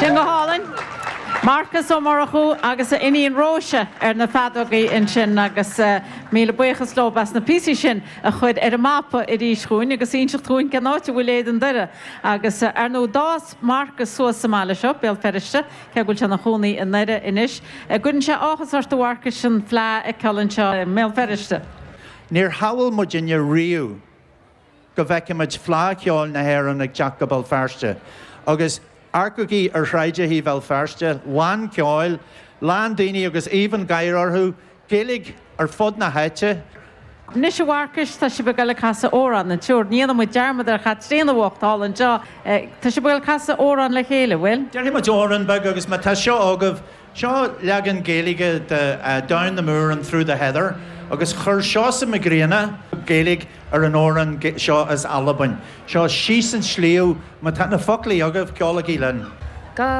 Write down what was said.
Sin go hálainn. Marcas Ó Murchú agus a iníon Róise ar na feadógaí ansin agus míle buíochas leo as na píosaí sin a chur ar an mapa arís dhúinn agus inseacht dhúinn cén áit a bhfuil Éadan Doire. Agus ar ndóigh d'fhás Marcas suas sa mbaile seo, Béal Feirste, cé go bhfuil sé ina chónaí i nDoire anois. Gcuireann sé áthas ort a Mharcais an Fleadh a fheiceáil anseo i mBéal Feirste? Níor shamhail muidinne riamh go bhfeicfimid Fleadh Cheoil na hÉireann ag teacht go Béal Feirste agus amharcaigí ar shráideacha Bhéal Feirste, lán ceoil, lán daoine agus aoibh an gháire orthu, Gaeilge ar fud na háite. Anois a Mharcais, tá sibh ag dul ag casadh amhrán, an triúr. Ní dhéanfaidh muid dearmad ar Chaitríona bhocht thall anseo. Tá sibh ag dul ag casadh amhrán le chéile, bhfuil? Déarfaidh muid amhrán beag agus má tá seo agaibh, Seo leagan Gaeilge de Down the Moor and Through the Heather agus chuir Seosamh Mac Grianna Gaeilge ar an amhrán seo as Albain. Seo Síos an Sliabh, má tá na foclaí agaibh, ceolaigí linn. Go.